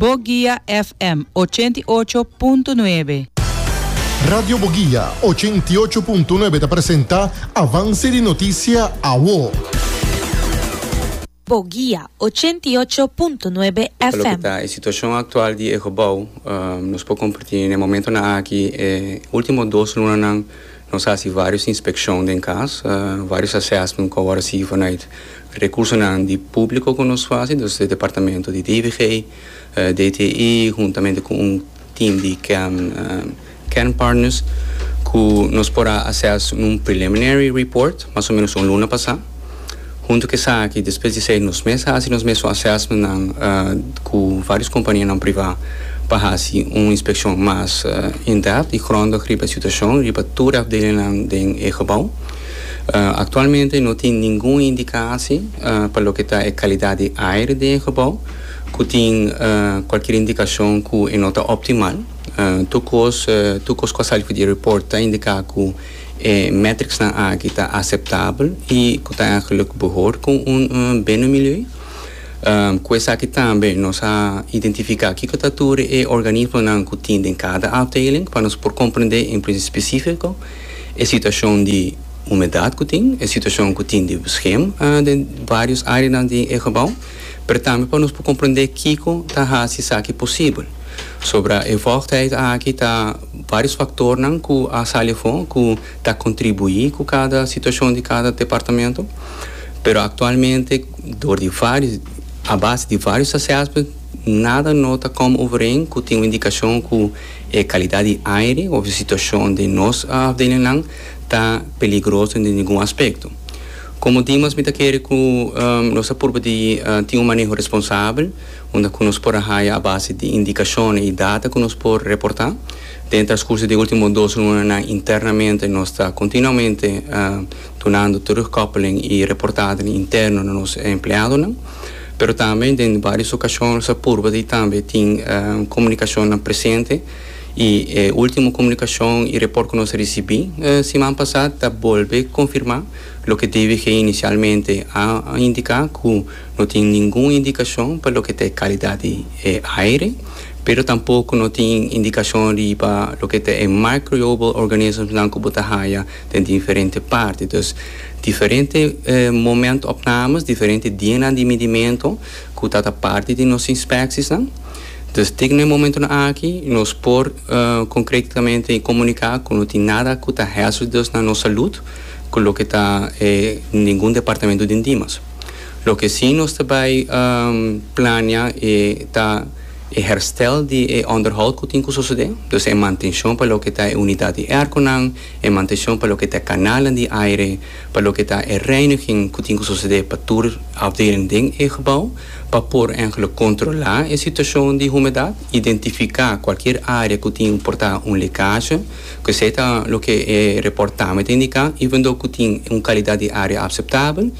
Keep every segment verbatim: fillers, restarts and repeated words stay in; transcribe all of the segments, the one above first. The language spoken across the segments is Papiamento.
Boguia F M ochenta i ocho punto nuebe. Radio Boguia ochenta i ocho punto nuebe ta presenta Avance di Noticia Awo. Boguia ochenta i ocho punto nuebe Pa loke F M. Ta e situacion actual di e gebouw, um, nos por comparti na e momento nan aki, e ultimo dos lunanan nos a haci varios inspeccion den cas, uh, varios assessment cu awor si vanuit recursonan di publico cu nos ta haci, dus e departamento di D V G, uh, D T I, huntamente cu un team di kern, uh, kernpartners, cu nos por a assess un preliminary report, mas o menos un luna pasa. Hunto cu esaki, despues di esey nos mes a haci nos mes assessment nan, uh, cu varios compania priva pa haci un inspeccion mas uh, in-depth y grondig riba e situacion, riba tur afdelingnan den e gebouw. Uh, actualmente no tin ningun indicatie uh, pa loke ta e calidad di aire den e gebouw, cu tin uh, cualkier indicacion cu no ta optimal. Uh, tur cos, uh, tur cos cu a sali di report ta indica cu e metrics nan aki ta aceptabel y cu ta eigenlijk behoort cu un uh, binnenmilieu. Um, cu esaki tambe nos a identifica kico ta tur e organismonan cu tin den cada afdeling pa nos por comprende en specifico e situacion di humedad cu tin, e situacion cu tin di schim uh, den varios areanan di e gebouw, pero tambe pa nos por comprende kico ta haci esaki posibel. Sobre e vochtheid aki ta varios factornan cu a sali afo cu ta contribui cu cada situacion di cada departamento, pero actualmente door di varios a base di varios assessments nada no ta come overeen cu tin un indicacion cu e calidad di aire of e situacion di nos afdelingnan ta peligroso den ningun aspecto. Como Dimas, mi ta kere cu um, nos a purba di uh, tin un maneho responsabel, unda cu nos por haya a base di indicacion y data cu nos por reporta. Den transcurso di ultimo dos lunanan internamente nos ta continuamente uh, dunando terugkoppeling y reportahe interno na nos empleadonan. Pero tambe den varios ocasion nos a purba di tambe tin uh, comunicacion presente y e ultimo comunicacion y report cu nos a ricibi eh, siman pasa ta bolbe confirma loke D V G inicialmente a, a indica, cu no tin ningun indicacion pa loke ta calidad di eh, aire, pero tampoco no tin indicacion di pa loke ta e microbial organisms nan cu bo ta haya den diferente parti. Dus diferente eh, momentopnames, diferente dianan di midimento cu ta parti di nos inspecties nan. Dus te na e momento aki, nos por uh, concretamente comunica cu no tin nada cu ta hazardous na nos salud, cu loke ta eh, ningun departamento di Dimas. Loke si nos tambe um, planea eh, ta e herstel di e onderhoud cu tin cu sucede, dus e mantencion pa loke ta e unidad di airconan, e mantencion pa loke ta canalen di aire, pa loke ta e reiniging cu tin cu sucede pa tur afdeling den e gebouw, pa por eigenlijk controla e situacion di humedad, identifica cualkier area cu tin por ta un lekkage, cu esey ta loke e report tambe ta indica, even though cu tin un calidad di aire aceptabel,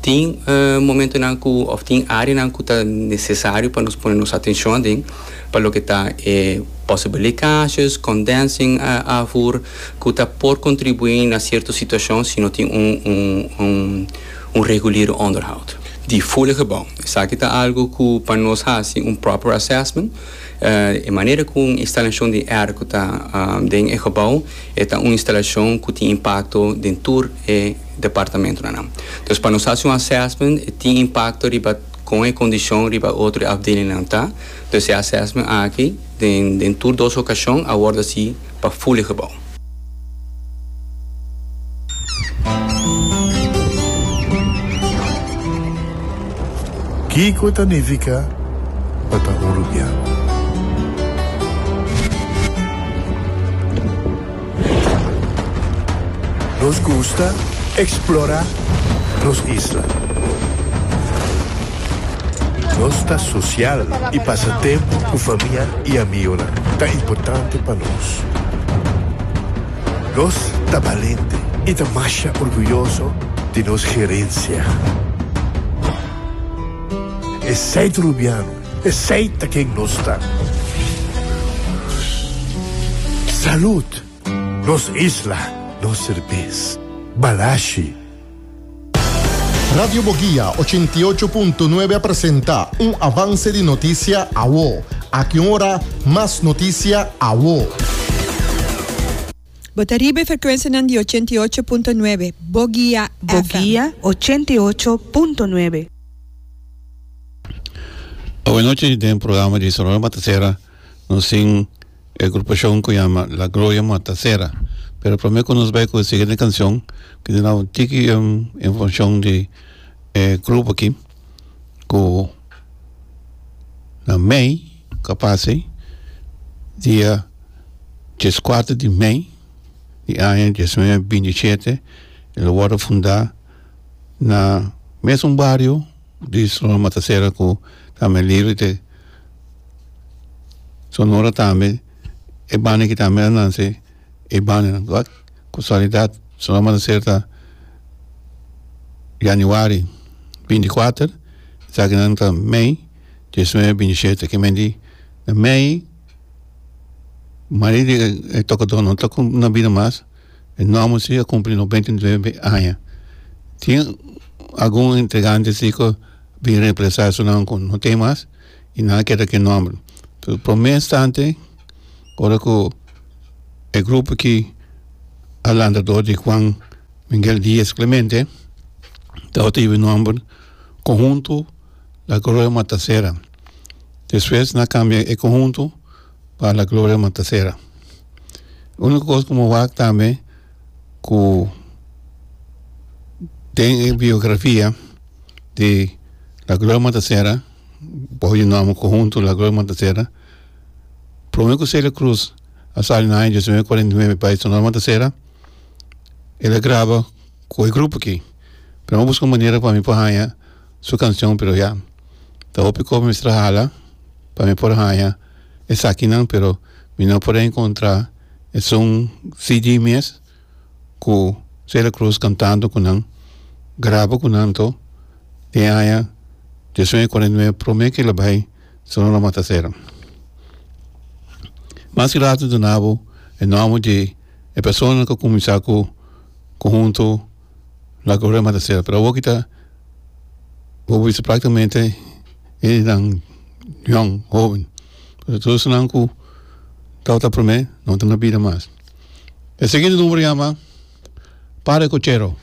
tin uh, momentonan cu of tin areanan cu ta necesario pa nos pone nos atencion den pa loke ta eh, possible lekkages, condensing uh, afvoer, cu ta por contribui na cierto situacion si no tin un, un, un, un regulier onderhoud. Di full gebouw. Esaki ta algo cu pa nos haci un proper assessment. Uh, e manera cu instalacion di airco ta um, den e gebouw, ta un instalacion cu tin impacto den tur e departamentonan. Dus pa nos haci un assessment, tin impacto riba cu e condicion riba otro afdelingnan ta. Dus e assessment aki, den, den tur dos ocasion, a wordo haci pa full gebouw. Kico ta nifica pa ta Rubiano? Nos gusta explora nos isla. Nos ta social y pasa tempo cu famia y amigo. Ta importante pa nos. Nos ta valiente y ta mas orguyoso di nos herencia. Esey ta Rubiano, esey ta ken nos ta. Salud, nos isla, nos cerbes. Balashi. Radio Boguia ochenta i ocho punto nuebe a presenta un avance di noticia Awo. Aki un ora, mas notisia awo. Bo ta riba e frekuensia di ochenta i ocho punto nuebe, Boguia. Boguia ochenta i ocho punto nuebe. Awe nochi den programa di Sonora Matancera nos tin e agrupashon ku yama La Gloria Matancera. Pero promé ku nos bai ku e siguiente kanshon, ke duna un tiki informashon di e grupo aki ku na mei ku a pasa dia dieskuater di mei di aña diesnuebe binti shete el a wòrdu fundá na mesun bario di Sonora Matancera ku tambe libre di Sonora tambe e banda aki tambe a nase e bandanan. Wak kasualidat Sonora Matancera ta yanüari binti kuater esakinan ta mei diesnuebe binti shete ke men di na mei mayoria di e tokadó no ta na bida mas e nòmber si a kumpli noventa i nuebe aña. Tin algun integrante si ku bin reemplasa esunnan ku no tin mas i nan a keda ku e nòmber. Promé instante ora ku e grupo aki a lanta dor di Juan Miguel Diaz Clemente tabata hiba e nòmber Conjunto La Gloria Matancera. Despues nan a kambia e conjunto pa La Gloria Matancera. Úniko kos ku mi wak tambe ku den e biografia di La Gloria Matancera bou di nòmber Conjunto La Gloria Matancera promé ku Celia Cruz a sali na aña diesnuebe kuarenta i nuebe pa e Sonora Matancera el a graba ku e grupo aki pero mi a buska un manera pa mi por haña su kanshon pero ya ta hopi kos mi mester a hala pa mi por haña esakinan pero mi no por a enkontra esun C D mes ku Celia Cruz kantando ku nan graba ku nan anto den aña diesnuebe kuarenta i nuebe prome ku el a bai Sonora Matancera. Mas rato duna bo e nòmber di e persona ku kuminsá ku konhunto La Gloria Matancera pero awor kita bo bisa praktikamente hendenan yòn hoben pero tur esnan ku tabata promé no ta na bida mas. E siguiente number yama Padre Cochero.